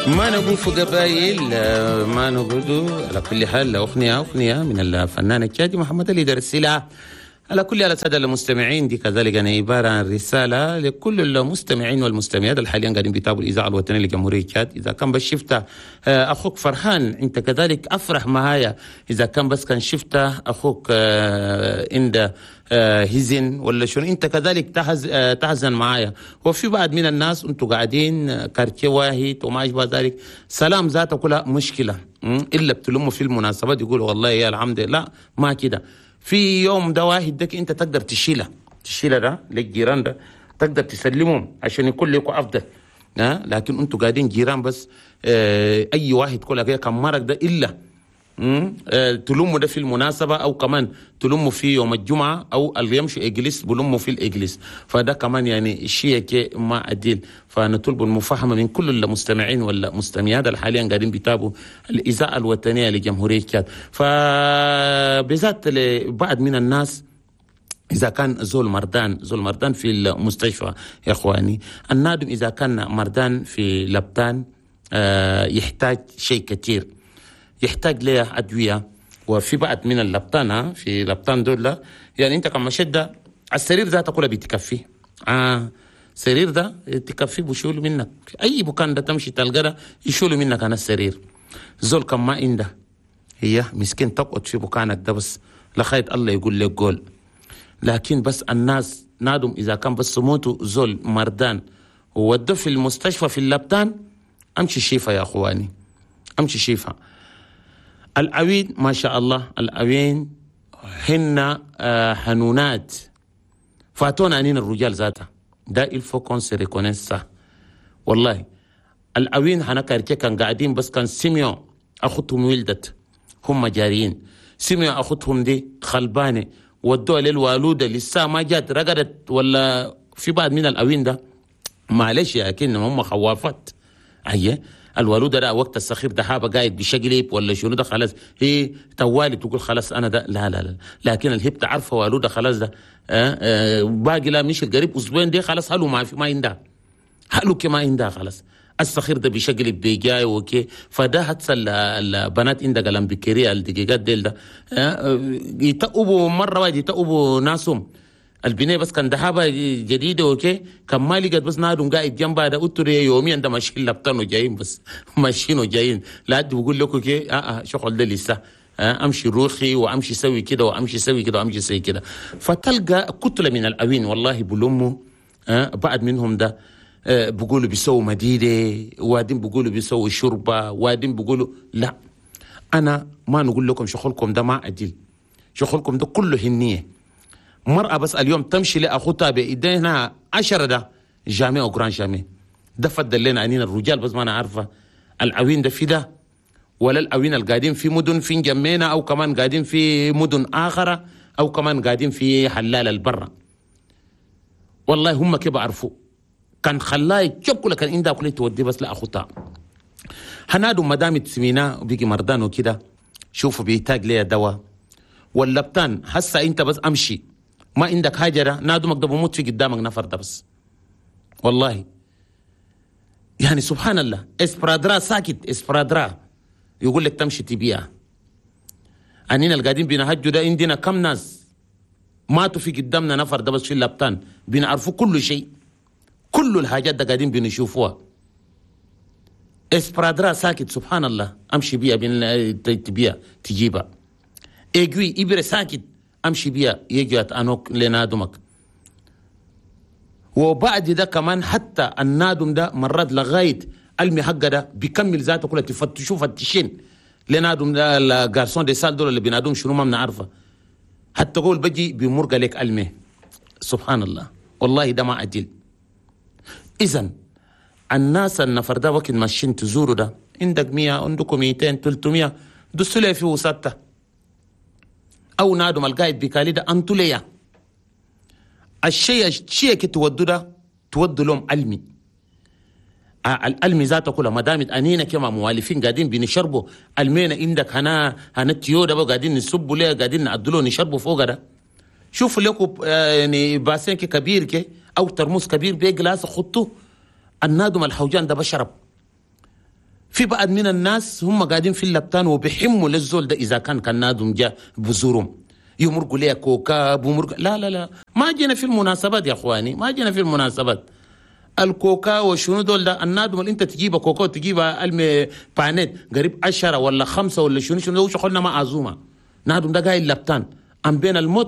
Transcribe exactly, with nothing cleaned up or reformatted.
ما نقول في قبايل، ما نقول. على كل حال أغنية أغنية من الفنان التشادي محمد اللي درسلها. على كل حال السادة المستمعين، دي كذلك أنا عبارة عن رسالة لكل المستمعين والمستمعات اللي حاليا قاعدين بيتابعوا الإذاعة الوطنية لجمهورية تشاد. إذا كان بس شفت أخوك فرحان أنت كذلك أفرح معايا. إذا كان بس كان شفت أخوك عند هزن ولا شنو أنت كذلك تحز تحزن معايا. وفي بعض من الناس أنتوا قاعدين quartier واحد وما أشبه ذلك، سلام ذاته كلها مشكلة، إلا بتلموا في المناسبات يقولوا والله يا الحمد لله ما كده. في يوم ده واحد دك انت تقدر تشيله تشيله ده للجيران ده تقدر تسلمهم عشان يكون لكم افضل، ها. لكن انتوا قاعدين جيران بس، اه اي واحد كل كده كان مرق ده الا اه تلموا ده في المناسبة، او كمان تلموا في يوم الجمعة، او اللي يمشي église بلموا في ال église. فده كمان يعني شيء ما عديل. فنطلب المفاهمه من كل المستمعين والمستمعات اللي حاليا قاعدين بيتابعوا الاذاعة الوطنية لجمهوريه تشاد. فبذات لبعض من الناس إذا كان زول مردان زول مردان في المستشفى يا إخواني، النادم إذا كان مردان في لبتان آه يحتاج شيء كثير، يحتاج له أدوية. وفي بعض من اللبطان في لبطان دول يعني أنت كما شدة السرير ذاته كله بتكفي، آه سرير ده تكفي بشيلوا منك أي مكان ده تمشي تلقى يشيلوا منك أنا السرير. زول كم ما عنده هي مسكين تقعد في مكانك ده بس لخيط الله يقول لك قول. لكن بس الناس نادم إذا كان بس موتوا زول مردان وودوا في المستشفى في اللبطان، أمشي شيفا يا أخواني، أمشي شيفا. العوين ما شاء الله، العوين هن حنونات فاتونا أنين الرجال ذاتها ده il faut qu'on se reconnaisse ça. والله العوين هنا quartier كان قاعدين بس كان سمعوا أخوتهم ولدت هم جاريين، سمعوا أخوتهم دي خلبانة ودوها للوالودة لسه ما جات رقدت ولا في بعض من العوين ده معلش لكن هم خوافات. أيه الوالودة ده وقت السخير ده حابة قاعد بشقلب ولا شنو ده خلاص هي توالي تقول خلاص أنا ده لا لا لا. لكن الهبت عارفة والودة خلاص ده آه آه باقي لا مش القريب أسبوعين دي خلاص هلو ما في ما عندها هلو كما عندها خلاص السخير ده بشقلب بيجاي وكي. فده هتسل البنات عندك قلم بكرية الدقيقات ديل ده آه يتقبوا مرة واحدة يتقبوا ناسهم البنية بس كان دهابة جديدة وكي كان ما لقت بس نادم قاعد جنبها ده قلت يوميا ده ماشيين لبطن وجايين بس ماشيين وجايين لا بقول لكم كي اه اه شغل ده لسه آه امشي روحي وامشي سوي كده وامشي سوي كده وامشي سوي كده. فتلقى كتلة من الأوين والله بلموا آه بعد منهم ده آه بقولوا بيسووا مديدة، وادين بقولوا بيسووا شوربة، وادين بقولوا لا. أنا ما نقول لكم شغلكم ده ما عدل، شغلكم ده كله هنية. مرأة بس اليوم تمشي لأخوتها بإيدينا عشرة ده jamais au grand jamais ده فضل لنا عنينا الرجال بس ما أنا عارفة العوين ده في ده ولا العوين القاعدين في مدن في جمينة أو كمان قاعدين في مدن آخرة أو كمان قاعدين في حلال البرة. والله هم كيف عرفوا كان خلاه يتشبكوا لكن عندها كل تودي بس لأخوتها. هنادو مدام تسمينا وبيجي مردان وكده شوفوا بيحتاج ليه دواء واللبتان هسا انت بس امشي ما عندك حاجة نادمك ده بموت في قدامك نفر ده بس والله يعني سبحان الله. sparadrap ساكت sparadrap يقول لك تمشي تبيع. اننا القاعدين بنهجوا ده عندنا كم ناس ماتوا في قدامنا نفر ده بس في اللبتان بنعرفوا كل شيء كل الحاجات ده قاعدين بنشوفوها. sparadrap ساكت سبحان الله امشي بيها بين تبيع تجيبها. aiguille ابره ساكت امشي بيها يجي انوك لنادمك. وبعد ده كمان حتى النادم ده مرات لغاية المي حقه ده بيكمل ذاته كلها تفتشوا فتشين لنادم ده ال garçon de salle دول اللي بينادوم شنو ما بنعرفه حتى قول بجي بيمرق لك المي سبحان الله والله ده ما عدل. اذا الناس النفر ده وقت ماشيين تزوروا ده عندك مية عندكم ميتين ثلاثمية دسوا لي في وسطه او نادم القايد بكالي ده انتوا ليا الشيء الشيء كي تودوا ده تودوا لهم علمي العلمي ذاته كلها ما دامت انينا كما موالفين قاعدين بنشربوا المينا عندك هنا هنا التيو ده قاعدين نصبوا ليه قاعدين نعدلوا نشربوا فوق ده. شوفوا لكم يعني bassin كبير كي او ترموس كبير ب glace خطوة النادم الحوجان ده بشرب في بعض من الناس هم قاعدين في اللبتان وبيحموا للزول ده، اذا كان كان نادم جاء بزورهم يمرقوا ليه كوكا بمرق. لا لا لا، ما جينا في المناسبات يا اخواني، ما جينا في المناسبات. الكوكا وشنو دول ده، النادم اللي انت تجيبها كوكا وتجيبها المي بانيت قريب عشرة ولا خمسة ولا شنو شنو، شغلنا ما عزومة. نادم ده قايل لبتان ام بين الموت.